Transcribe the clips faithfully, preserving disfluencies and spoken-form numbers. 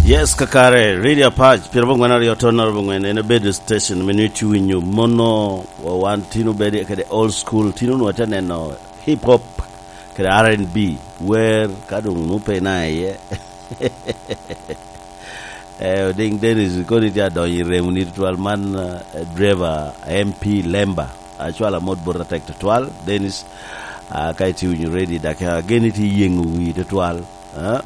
Yes, kakare, Radio Apac, piro bongwen aryo ton naro bongwen, en obedo station me nyo iwinyo mono, wa wan tino bedo kede old school, tino nwa te neno hip hop, kede R and B, wer, ka dong nu pe na iye. Eh, Oding Dennis, koni tye adonyo i remo ni tutwal man, eh, driver M P Lemba. Acwala mot bot atek tutwal, Dennis, ah, ka itye winyo ready, dak ageni tye yengo wi tutwal. Ah?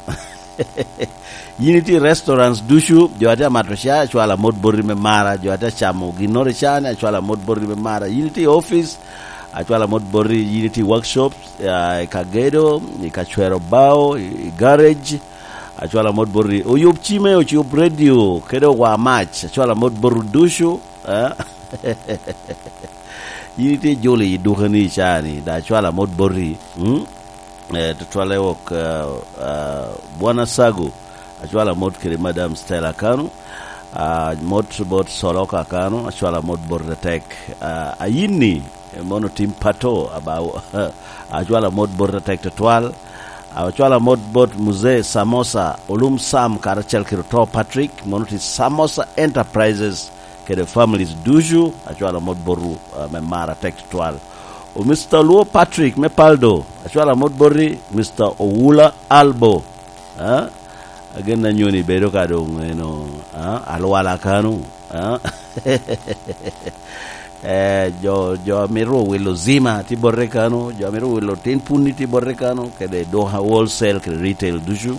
Yin itye i restaurants ducu, jo atye amato ca, acwala mot boti me mara, jo atye acamo ginnoro i caa-ni, acwala mot boti me mara. Yin itye i office, acwala mot boti, yin itye i workshop, ah, i ka gedo, i ka cwero bao, i, i garage, acwala mot boti. Oyub cime, oyub radio, kede owa mac, acwala mot boti ducu, ah? Yin itye jolo i duka-ni i caa-ni, da acwala mot boti, mm? Eh, tutwalle wok, eh, eh, Bwana Sago, acwala mot kede Madam Stella Kanu, ah, mot bot Soloka Kanu, acwala mot bot Retek, ah, Ayinni, eh, mono tim pato, aba, acwala mot bot Retek tutwal, acwala mot bot Mzee Samosa, Olum Sam, karacel kede Oto Patrick, mono ti Samosa Enterprises, kede families ducu, acwala mot botwu, ah, me mar atek tutwal. O Mister Luo Patrick me Paldo, acwala mot boti, Mister Owula Albo, ah, agen anyoni bedo ka dong eno, ah, alwala kanu, ah. Eh, jo, jo amito wilo Zima tye bote kanu, jo amito wilo tin punni tye bote kanu, kede duka wholesale kede retail ducu.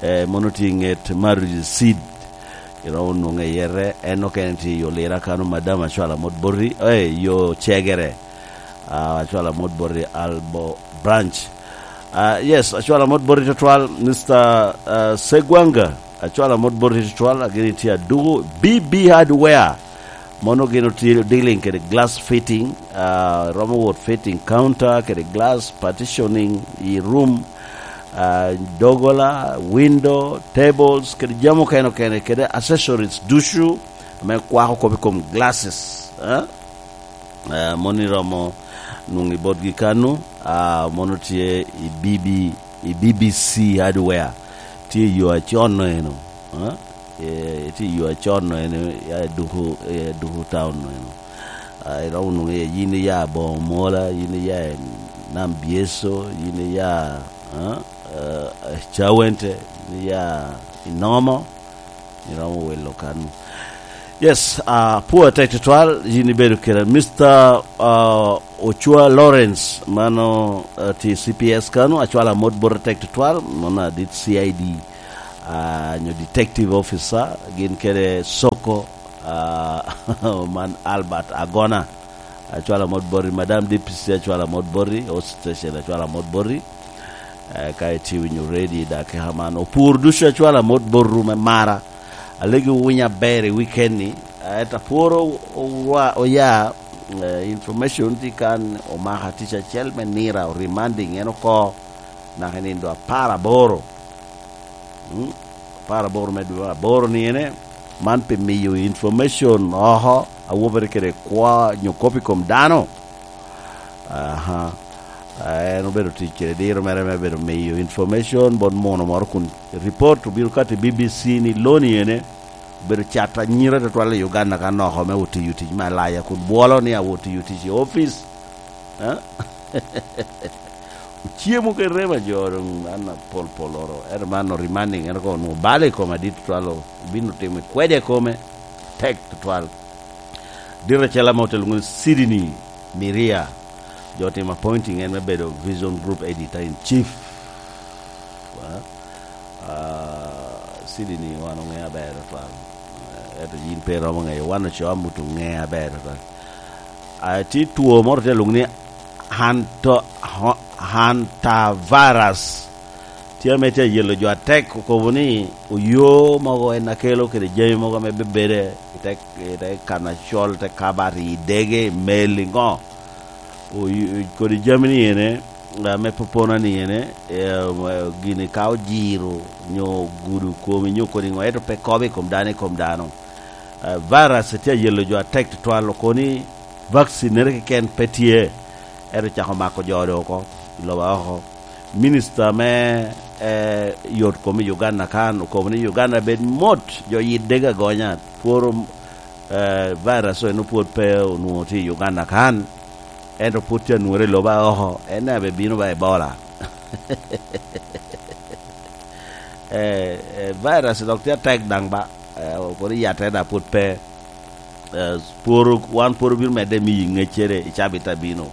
Eh, mono tye i nget Marriage Seed. Iromo nwoŋe i yete, en okene tye i olira kano, Madam acwala mot boti, eh, yo cegere. Ah, acwala mot boti Albo Branch. Ah, yes, acwala mot boti tutwal, Mister ah, Segwanga, acwala mot boti tutwal, agini tye aduku, B B Hardware. Mono gin otye dealing kede glass fitting, ah, romo wot fitting counter, kede glass partitioning i room, ah, dogola, window, tables, kede jami okene okene, kede accessories ducu ame kwako kop i kom glasses, eh? Eh, mono iromo nwoŋo i botgi kanu, ah, mono tye i B B, i B B C Hardware. Tye i yo acon-no eno, eh? Eh, tye i yo acon-no eno, ya i Duku, eh, Duku Town-no eno. Ah, iromo nwoŋo iye, yin iya Boŋo Mola, yin iya i Nam Byeso, yin iya, ah, eh, Cawente, yin iya i Nomo, iromo wilo kanu. Yes, ah, poor atek tutwal, yin ibedo kede Mister ah, Ocwa Lawrence, mano, ah, tye C P S kanu, acwala mot bot atek tutwal, mano adit C I D, ah, nyo detective officer, gin kede Soko, ah, man Albert Agona. Acwala mot boti, Madam D P C, acwala mot boti, Host Station, acwala mot boti. Eh, ka itye winyo ready, dak keka man. Opur ducu, acwala mot botwu me mara. Alegi owinyo aber i weekend-ni. Eh, ento apworo owa-, oya, eh, information tye kan omaka tic acel me nira, o reminding en oko. Naka i nindo apar aboro. Mm, apar aboro me dwe aboro ni ene, man pi miyo information oko, awobere kede kwo nyo kop i kom dano. Aha. Ah, en obedo tic kede diro mere me bedo miyo information bot muno moro kun report obino kati B B C ni loni ene obedo cat anyira tutwal i Uganda ka noko me otiyo tic me alaya kun bwolo ni awo tiyo tic i office. Eh? Ocemo kede rema jo doŋ an apol pol oro. Ento man o reminding en ko onwoŋo balo i koma dit tutwal, obino timo i kwede kome tek tutwal. Diro acel ame otelo ŋuni Sydney Miria, jo otimo appointing en me bedo Vision Group Editor in Chief. Ah, Sydney wan oŋe aber tutwal. Eh, ento yin pe iromo ŋeyo, wan ocoo amut oŋe aber tutwal. Ah, tye two moro tye lwong ni Hanto-, ho-, hantavirus. Tye ame tye ayelo jo atek, okobo ni oyo mogo en akelo kede jami mogo ame bebede i te, i te kan acol, te kabat, i dege, i mel, i ŋo. Oy-, kodi jami ni ene, ame popona ni ene, eh, gini ka ojiro, nyo ogudo komi, nyo kodi ŋo, ento pe kobo i kom dano, i kom dano. Eh, virus tye ayelo jo atek tutwal, okoni vaccine nere keken pe tye, ento cako mako jo oko, i loba oko. Minister me eh, yot kom i Uganda kan, okobo ni Uganda bed mot, jo yidde ga gonya, pworo, eh, virus eno pwod pe onwoŋo tye i Uganda kan, ento pwod tye anwore i lobo aoko, en daŋ abe bino ba Ebola. Eh, eh, virus dok tye atek daŋ ba, eh, pwod yatte daŋ pwod pe. Eh, pworo, wan pworo bino medde miyi ŋeccere i cabit abino.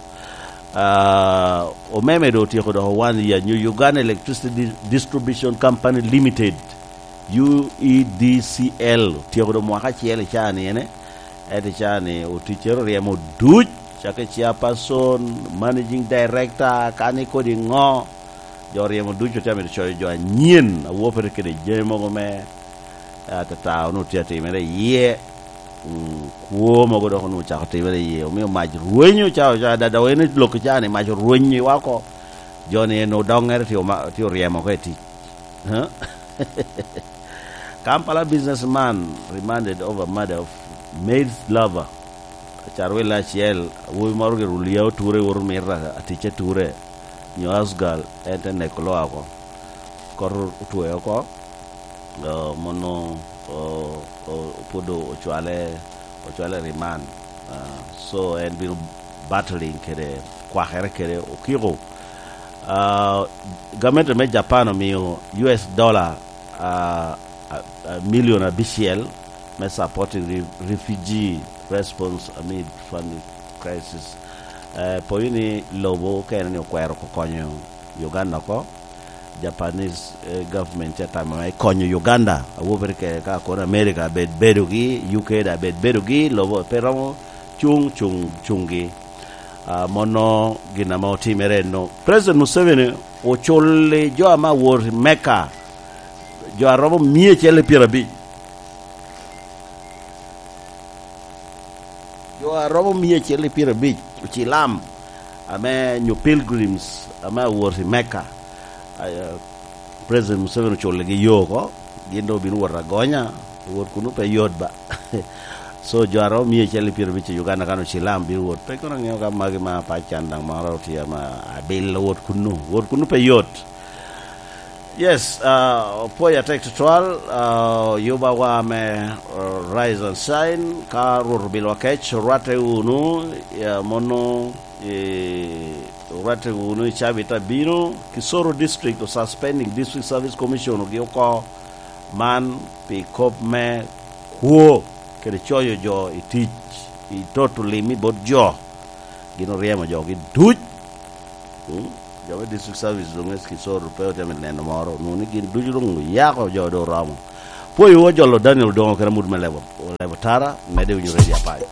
Ah, omeme doŋ otyeko dok one year, New Uganda Electricity Di-, Distribution Company Limited, U E D C L, otyeko doŋ mwaka acel i caa ni ene, ento i caa ni oticcere oryemo duc, cakki chairperson, managing director, kani kodi ŋo, jo oryemo duc otye amito coyo jo anyen, awopere kede jami mogo me, eh, atata onwoŋo tye atimere iye. Mm, kwo mogo dok onwoŋo ocako timere iye, omio mac rwenyo ca, ca, da, da, en lok ca ni mac orwenyo i wa oko. Jo ni en odoŋere tye oma-, tye oryemo oko i tic. Huh? Kampala businessman remanded over murder of maid's lover. Carwille acel, awobi moro gire olia oture, owoto mito atic ature, nyo house girl, en te neko loa oko. Kot otweo oko. Ah, mono, ah, ah, pwod ocwale, ocwale i remand. Ah, so en bino battling kede kwakere kede okiko. Ah, gamente me Japan omio U S dollar, ah, ah, ah, million abicel me supporting re-, refugee response amid family crisis. Eh, poyo ni lobo okene ni okwero oko konyo Uganda oko. Japanese, eh, government tye tamo me konyo Uganda, awobere ke ka kono America abed bedogi, U K da abed bedogi, lobo pe romo cuŋ, cuŋ, cuŋgi. Ah, mono gin ame otimere eno. President Museveni oculli jo ame awot i Mecca, jo a romo mia acel i pyerabic. Jo a romo mia acel i pyerabic ocilam ame nyo pilgrims ame awot i Mecca. Ah, eh, President Museveni oculligi yo oko, gin doŋ obino wot agonya, wot kunnu pe yot ba. So, jo a romo mia acel i pyerabic i Uganda kan ocilam bino wot. Pe kono aŋeo ka magi ma pac can daŋ moro tye ama abilo wot kunnu. Wot kunnu pe yot. Yes, ah, opwoyo atek tutwal, ah, oyubawa me, ah, Rise and Shine, ka Rwot obilowa kec, orwatte wunu, ya, mono, eh, orwatte wunu i cabit abino, Kisoro District o suspending District Service Commission ogi oko, man pi kop me kwo, kede coyo jo i tic, i toto lim i bot jo, gin oryemo jogi duc. Mm. Jo me district service doŋ S K Soro pe otye neno moro, onwoŋo ni gin ducu doŋ oyako jo doŋ oromo. Pwoyo ojolo Daniel Odongo kede amut me lebo, lebo tara, medde winyo redio apac.